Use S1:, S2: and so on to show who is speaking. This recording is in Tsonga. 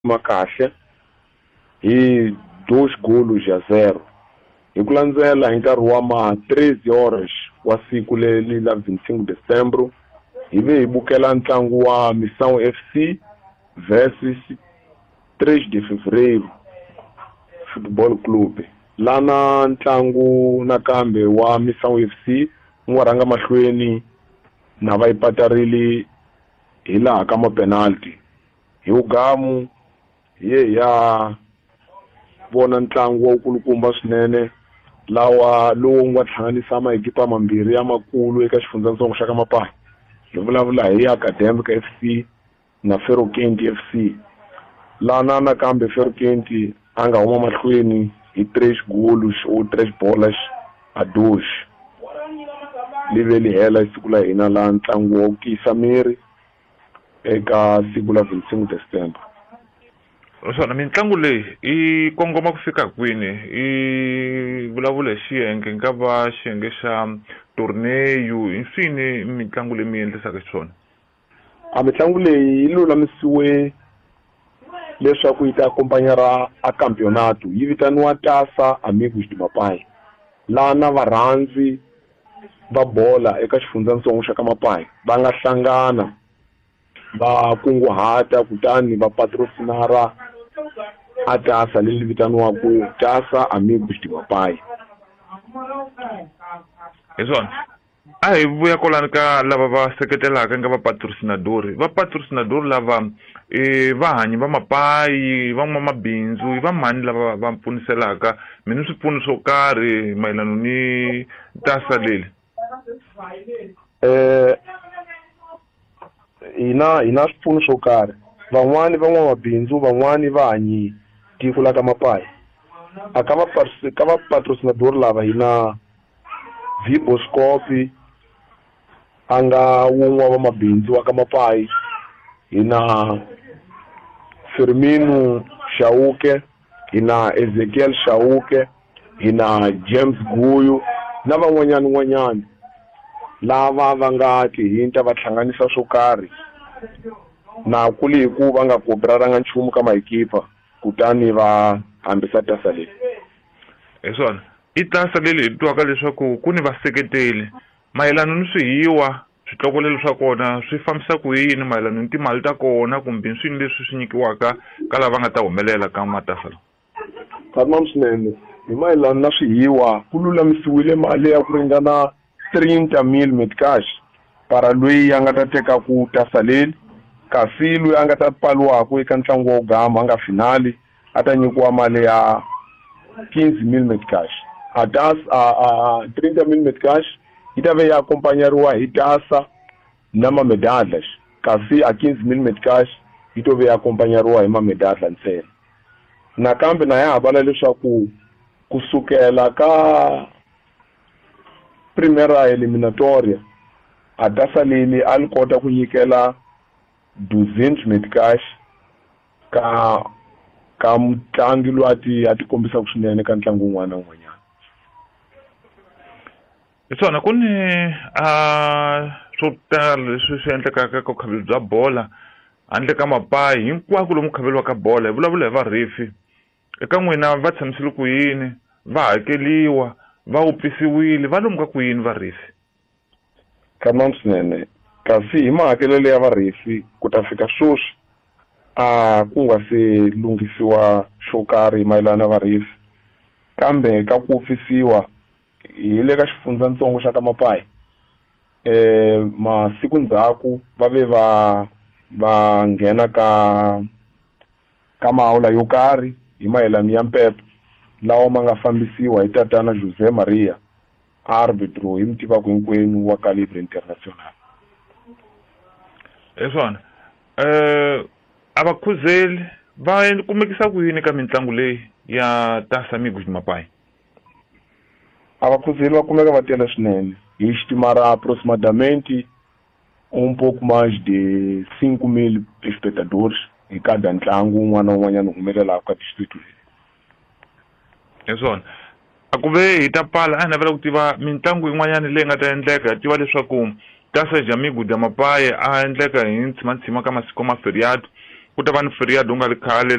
S1: Ma kahle hi 2 golos a 0. Hi ku landzela hi nkarhi wa ma 13 horas wa siku leri la 25 Decembro, hi ve hi bukela ntlangu wa Missão FC versus 3 de Fevereiro Football Club. Lana ntlangu nakambe wa Missão FC wu nga rhanga mahlweni na va yi patarile hi laha ka mapenalty. Hi wugamu hi ye hi ya vona ntlangu wa wukulukumba swinene lawa lowu nga hlanganisa maekipa mambirhi ya makulu eka xifundzatsongo xa ka Mapaya. Hi vulavula hi Academic FC na Ferokenti FC. Lana nakambe Ferokenti a nga huma mahlweni hi 3 goals or 3 bolas a 2. Li ve li hela siku la hina la ntlangu wa ku tiyisa miri eka siku la 25 December.
S2: Naswona mitlangu leyi yi kongoma ku fika kwini? I vulavula hi xiyenge nga va xiyenge xa torneyo, hi swini mitlangu leyi mi endlisaka xiswona?
S1: A mitlangu leyi yi lulamisiwe leswaku yi ta akompanyara a campeonato, yi vitaniwa Taça Amigos de Mapai. Lana varhandzi va bola eka xifundzatsongo xa ka Mapai va nga hlangana va kunguhata kutani va patrocinara a tasa leri vitaniwaka Taça Amigos de Mapai.
S2: Hi swona. A hi vuya kwalano ka lava va seketelaka nga va patrocinadori. Va patrocinadori lava i vahanyi va mapayi, van'wamabindzu, i va mani lava va pfuniselaka? Mi ni swipfuno swo karhi mayelana ni tasa leri?
S1: Hina swipfuno swo karhi. Van'wani van'wamabindzu, van'wani vahanyi tiko la ka Mapai. A ka va ka va patrocinadori lava hina Viboscopi a nga wun'we wa vamabindzu wa ka Mapai, hina Firmino Chauke, hina Ezekiel Chauke, hina James Guyu na van'wanyana n'wanyana lava va nga tihinta va hlanganisa swo karhi na ku li hi ku va nga koperaranga nchumu ka maekipa kutani va hambisa tasa leyi.
S2: Hi swona. I tasa leri hi twaka leswaku ku ni vaseketeli mayelana ni swihiwa, switlokolelo swa kona swi fambisa ku yini mayelana ni timali ta kona kumbe swini leswi swi nyikiwaka ka lava nga ta humelela ka matasa lawa?
S1: Tamam swinene. Hi mayelana na swihiwa, ku lulamisiwile mali ya ku ringana 30,000 meticais para loyi a nga ta teka ku tasa leri, kasi loyi a nga ta pfaliwaka eka ntlangu wa gama a nga finali a ta nyikiwa mali ya 15,000 meticais. A tas a 30,000 meticais yi ta ve ya akompanyariwa hi tasa na mamedalhas, kasi a 15,000 meticais yi to ve ya akompanyariwa hi mamedalha ntsena. Nakambe na ya ha vala leswaku kusukela ka primera eliminatoria a tasa leri a li kota ku nyikela 200 meticais ka mutlangi loyi a ti kombisaka swinene ka ntlangu wun'wana na wun'wanyana.
S2: Hi swona, ku ni swo tala leswi swi endlekaka ka vukhaveli bya bola handle ka Mapai, hinkwako lomu ku khaveliwaka bola. Hi vulavula hi varhefi. Eka n'wina va tshamisile ku yini? Va hakeliwa, va wupfisiwile, va lomu ka ku yini varhefi?
S1: Tamam swinene. Kasi hi mahakelelo ya varhefi ku ta fika sweswi a ku nga se lunghisiwa xo karhi mayelana na varhefi, kambe ka ku wupfisiwa hi le ka xifundzatsongo xa ka Mapai, masiku ndzhaku va ve va nghena ka maawula yo karhi hi mayelana ya mpepo lawa ma nga fambisiwa hi tatana José Maria, arbitro hi mi tivaka hinkwenu wa calibre international.
S2: Hi swona. A va khuzeli va kumekisa ku yini ka mitlangu leyi ya Taça Amigos de Mapai?
S1: A va khuzeli va kumeka va tele swinene. Hi xitimara aproximadamente um pouco mais de 5,000 espectadores hi kada ntlangu wun'wana na wun'wanyana humelelaka ka district leyi.
S2: Hi swona. A ku ve hi ta pfala, a hi navela ku tiva mitlangu yin'wanyana leyi nga ta endleka. Hi tiva leswaku Taça de Amigos de Mapai a endleka hi ntshimantshima ka masiku ma feriado. Ku ta va ni feriado ku nga ri khale.